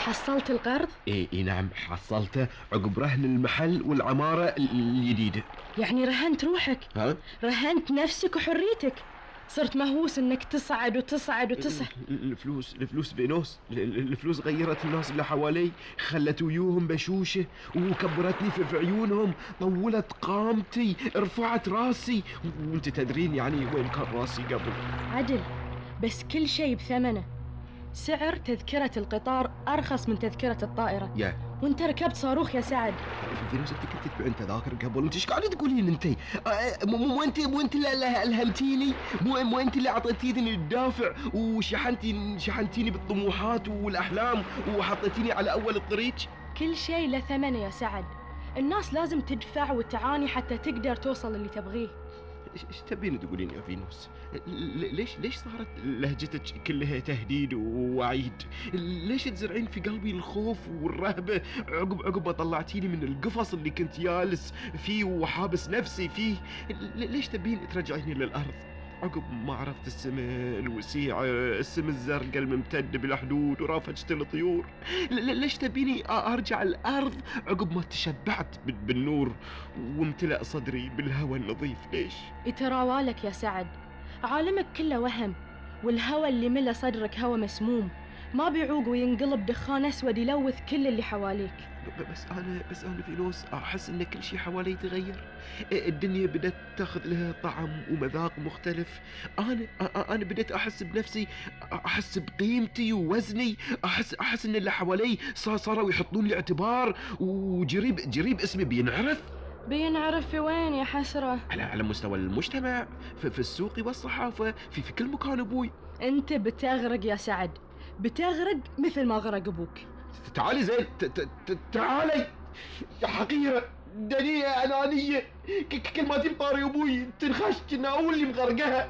حصلت القرض؟ إيه نعم حصلته عقب رهن المحل والعمارة الجديدة. يعني رهنت روحك؟ ها؟ رهنت نفسك وحريتك. صرت مهووس انك تصعد وتصعد وتصعد. الفلوس بينوس، الفلوس غيرت الناس اللي حوالي، خلت ويوهم بشوشة وكبرتني في عيونهم، طولت قامتي، رفعت راسي، وانت تدرين يعني وين كان راسي قبل. عدل، بس كل شيء بثمنه. سعر تذكرة القطار أرخص من تذكرة الطائرة. وانت ركبت صاروخ يا سعد. فينوس انت كنت تبيعين تذاكر قبل، انت ايش قاعده تقولين انت؟ مو انت اللي الهمتيني، مو انت اللي اعطيتيني الدافع وشحنتيني بالطموحات والاحلام وحطيتيني على اول الطريق. كل شيء له ثمنه يا سعد، الناس لازم تدفع وتعاني حتى تقدر توصل اللي تبغيه. ايش تبين تقولين يا فينوس؟ ليش صارت لهجتك كلها تهديد ووعيد؟ ليش تزرعين في قلبي الخوف والرهبة عقب ما طلعتيني من القفص اللي كنت جالس فيه وحابس نفسي فيه؟ ليش تبين ترجعيني للأرض عقب ما عرفت السماء الوسيعة، السماء الزرقاء الممتدة بالحدود ورافجة الطيور؟ ليش تبيني أرجع الأرض عقب ما تشبعت بالنور وامتلأ صدري بالهواء النظيف؟ ليش؟ يتراوالك يا سعد، عالمك كله وهم، والهوى اللي ملا صدرك هوى مسموم، ما بيعوق وينقلب دخان أسود يلوث كل اللي حواليك. بس أنا فينوس أحس إن كل شيء حوالي تغير، الدنيا بدأت تاخذ لها طعم ومذاق مختلف. أنا بدأت أحس بنفسي، أحس بقيمتي ووزني، أحس إن اللي حوالي صاروا يحطون لي اعتبار، وجريب اسمي بينعرف في وين يا حسرة؟ على مستوى المجتمع، في السوق والصحافة، في كل مكان أبوي. أنت بتغرق يا سعد، بتغرق مثل ما غرق أبوك. تعالي زين، تعالي يا حقيرة دنيئة أنانية، كل ما تجيب طاري أبوي تنخش كنا أول اللي مغرقها.